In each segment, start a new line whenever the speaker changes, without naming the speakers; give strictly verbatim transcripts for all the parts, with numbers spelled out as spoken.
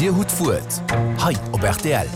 Dir hutt d'Wuert hei op rtl.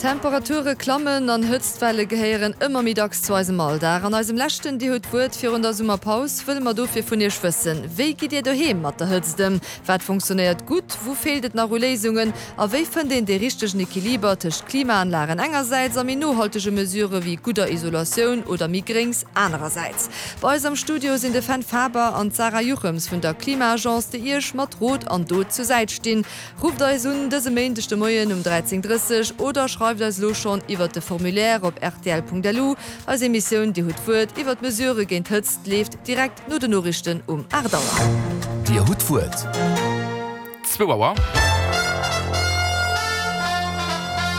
Temperature klammen an Hëtztwelle gehéieren ëmmer méi dacks zu eisem Alldag. An eisem leschten Dir hutt d'Wuert virun der Summerpaus wëlle mer dofir vun Iech wëssen, Wéi gitt Dir doheem mat der Hëtzt ëm? Wat funktionéiert gutt? Wou feelt et nach u Léisungen? A wéi fënnt een dee richtegen Equiliber tëscht Klimaanlagen engersäits a méi nohaltege Mesurë wéi gudder Isolatioun oder méi Gréngs anerersäits? Bei eis am Studio sinn de Fenn Faber an d'Sarah Juchems vun der Klima-Agence, déi Iech mat Rot an Dot zur Säit stinn. Rufft eis un dëse Méindeg de Moien um dräizéng drësseg oder schreift eis elo schonn iwwert de Formulaire op rtl.lu. Eis Emissioun Dir hutt d'Wuert iwwert d'Mesurë géint d'Hëtzt leeft direkt no den Noriichten um aacht Auer.
Dir hutt d'Wuert.
Zwou Auer.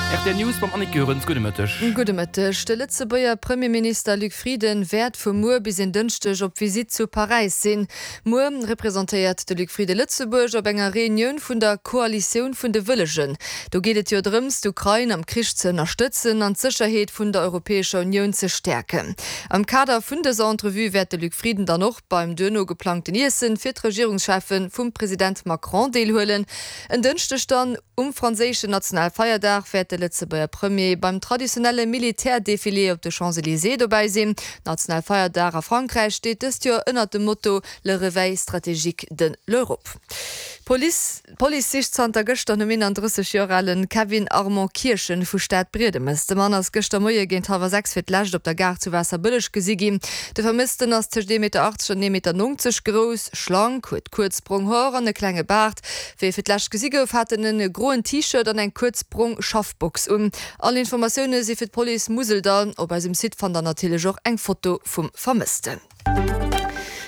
Rtl News mam Annick Goerens. Gudde Mëtteg.
Gudde Mëtteg. De Lëtzebuerger Premierminister Luc Frieden wäert vu muer bis en Dënschdeg op Visitt zu Paräis sinn. Muer representéiert de Luc Frieden Lëtzebuerg op enger Reunioun vun der Koalitioun vun de Wëllegen. Do geet et jo drëms, d'Ukrain am Krich ze ënnerstëtzen an d'Sécherheet vun der Europäescher Unioun ze stäerken. Am Kader vun dëser Entrevue wäert de Luc Frieden dann och beim duerno geplangten Iessen fir d'Regierungscheffen vum President Macron deelhuelen. En Dënschdeg dann, um franséischen Nationalfeierdag, wäert de Lëtzebuerger Premier beim traditionelle Militärdefilé op de Champs-Elysées dobäi sinn. Nationalfeierdag a Frankräich steet dëst Joer ënnert dem Motto Le réveil stratégique de l'Europe. D'Police D'Police sicht zanter gëschter nom eenandrësseg Joer ale Kevin Armand Kirchen vu Stadbriedemes. De Mann ass gëschter Moie géint hallwer sechs fir d'lescht op der Gare zu Waasserbëlleg gesi ginn. De Vermëssten ass tëscht ee Meter achtzeg an ee Meter nonzeg grouss, schlank, huet kuerz brong Hoer an e klenge Baart. Wéi e fir d'lescht gesi gouf, hat en e groen T-Shirt an eng kuerz brong Schaffbox un. All Informatioune si fir d'Police Museldall. Op eisem Site fannt der natierlech och eng Foto vum Vermëssten.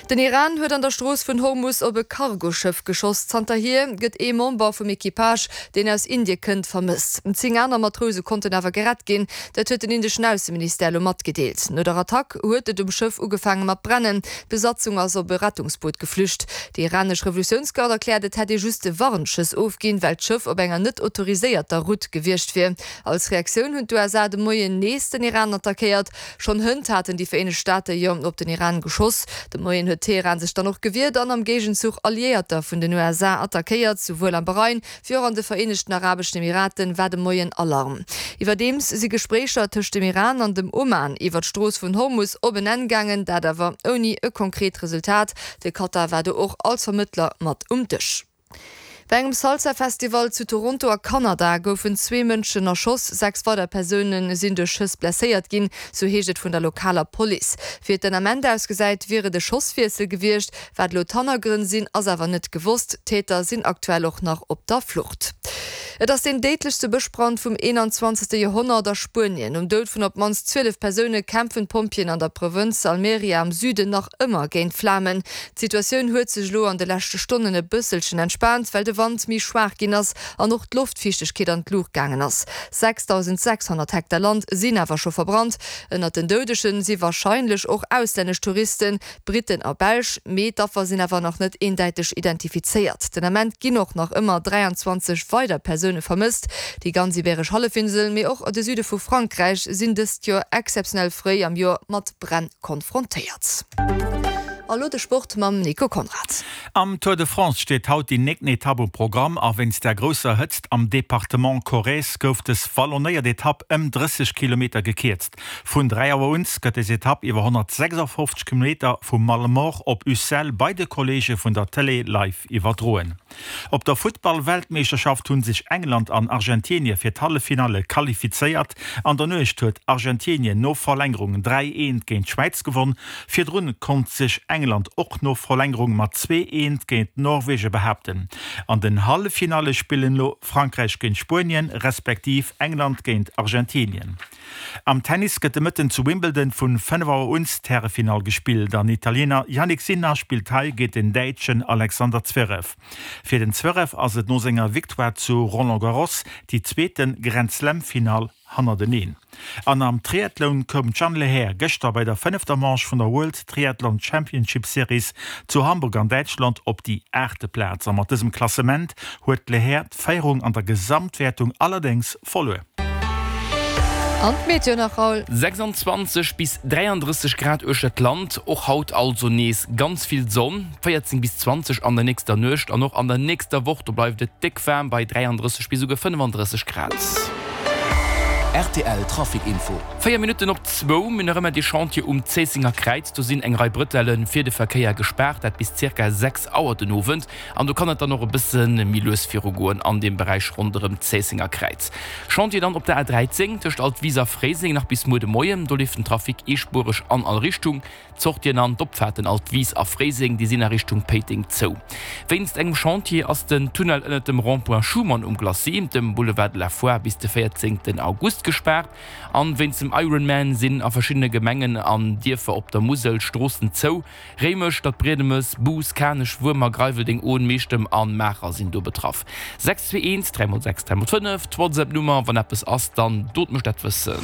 Den Iran huet an der Strooss vun Hormus op e Cargoschëff geschoss. Zanterhier gëtt ee Member vum Equipage, deen aus Indie kënnt, vermësst. Zéng aner Matrouse konnten awer gerett ginn. Dat huet den indeschen Ausseministère elo matgedeelt. No der Attack huet et um Schëff ugefaange mat brennen. D'Besatzung ass op e Rettungsboot geflücht. Déi iranesch Revolutiounsgarde erkläert, et hätt ee just Warnschëss ofginn, well d'Schëff op enger net autoriséierter Route gewiescht wier. Als Reaktioun hunn d'USA de Moien nees den Iran attackéiert. Schonn hënt haten déi Vereenegt Staate jo op den Iran geschoss. De Moien huet Teheran sech dann och gewiert an am Géigenzuch Alliéierter vun den U S A attackéiert. Souwuel am Bahrain wéi och an de Vereenegten Arabeschen Emiraten war de Moien Alarm. Iwwerdeems si Gespréicher tëscht dem Iran an dem Oman iwwer d'Strooss vun Hormus op en Enn gaangen, dat awer ouni e konkret Resultat. De Katar war do och als Vermëttler mat um Dësch. Bei engem Salsa-Festival zu Toronto a Kanada goufen zwee Mënschen erschoss, sechs weider Persoune sinn duerch Schëss blesséiert ginn, sou heescht et vun der lokaler Police. Wéi et den Ament ausgesäit, wier et e Schosswiessel gewiescht. Wat elo d'Hannergrënn sinn, ass awer net gewosst. D'Täter sinn aktuell och nach op der Flucht. Et ass deen déidlechste Bëschbrand vum eenanzwanzegste Joerhonnert a Spuenien. Nom Doud vun op d'mannst zwielef Persoune kämpfen d'Pompjeeën an der Provënz Almeria am Süden nach ëmmer géint d'Flamen. D'Situatioun huet sech elo an de leschte Stonnen e bësselchen entspaant, well de Wand méi schwaach ginn ass an och d'Loftfiichtegkeet an d'Luucht gaangen ass. sechsdausendsechshonnert Hektar Land sinn awer scho verbrannt. Ënnert den Doudege si warscheinlech och auslännesch Touristen, Britten a Belsch, mee d'Affer sinn awer nach net eendäiteg identifizéiert. Den Ament ginn och nach ëmmer dräianzwanzeg weider Persoune vermësst. Déi ganz Ibeeresch Hallefinsel, mee och de Süde vu Frankräich sinn dëst Joer exzeptionell fréi am Joer mat Bränn konfrontéiert. A lo de Sport mam Nico Conrad.
Am Tour de France steet haut déi néngten Etapp um Programm a wéinst der grousser Hëtzt am Departement Corrèze gouf dës wallonéiert Etapp ëm drësseg Kilometer gekierzt. Vun dräi Auer un gëtt des Etapp iwwer honnertsechsafofzeg Kilometer vu Malemort op Ussel bei de Kolleege vun der Tëlee live iwwerdroen. Op der Futtball-Weltmeeschterschaft hu sech England an Argentinie fir d'Halleffinalle qualifizéiert. An der Nuecht huet Argentinien no Verlängerung dräi eent géint d'Schwäiz gewonn. Virdrun konnt sech England och no Verlängerung mat zwee eent géint Norwege behaapten. An den Halleffinalle spillen elo Frankräich géint Spuenien, respektiv England géint Argentinien. Am Tennis gëtt de Mëtten zu Wimbledon vun fënnef Auer un d'Härefinall gespillt. Den Italiener Jannik Sinner spillt hei géint den Däitschen Alexander Zverev. Fir den Zverev ass et no senger Victoire zu Roland Garros déi zweete Grand-Slam-Finall hannerteneen. An am Triathlon koum d'Jeanne Lehair gëschter bei der fënnefter Manche vun der World Triathlon Championship Series zu Hamburg an Däitschland op déi aachte Plaz. A mat dësem Klassement huet d'Lehair d'Féierung an der Gesamtwäertung allerdéngs verluer.
An d'Meteo nach, Raoul.
sechsundzwanzeg bis dräianddrësseg Grad uechter d'Land, och haut also nees ganz vill Sonn, véierzéng bis zwanzeg an der nächster Nuecht an och an der nächster Woch, do bleift et déck waarm bei dräianddrësseg bis esouguer fënnefandrësseg Grad.
Rtl Trafic Info.
Véier Minutten op zwou, mir hunn nach ëmmer dee Chantier um Zéissenger Kräiz. Do sinn eng Rei Brëtelle fir de Verkéier gespaart, dat bis zirka sechs Auer den Owend. An do kann et dann och e bësse méi lues virugoen an deem Beräich ronderëm d'Zéissenger Kräiz. Chantier dann op der A dräizéng tëscht Altwis a Fréiseng nach bis muer de Moien. Do leeft den Trafic eespuereg an all Richtung. D'Sortien an d'Opfaarten Altwis a Fréiseng, déi sinn a Richtung Péiteng zou. Wéinst engem Chantier ass den Tunnel ënnert dem Rond-point Schuman um Glacis, dem Boulevard de la Foire, bis de véierzéngten August gespaart. An wéinst dem Ironman sinn a verschiddene Gemengen an Dierfer op der Musel Stroossen zou. Réimech, Stadbriedemes, Bous, Kanech, Wuermer, Greiweldeng, Ohn, Meechtem an Maacher sinn do betraff. Sechs zwee eent, dräi mol sechs, dräi mol fënnef, d'Whatsapp-Nummer. Wann eppes ass, dann dot mech dat wëssen.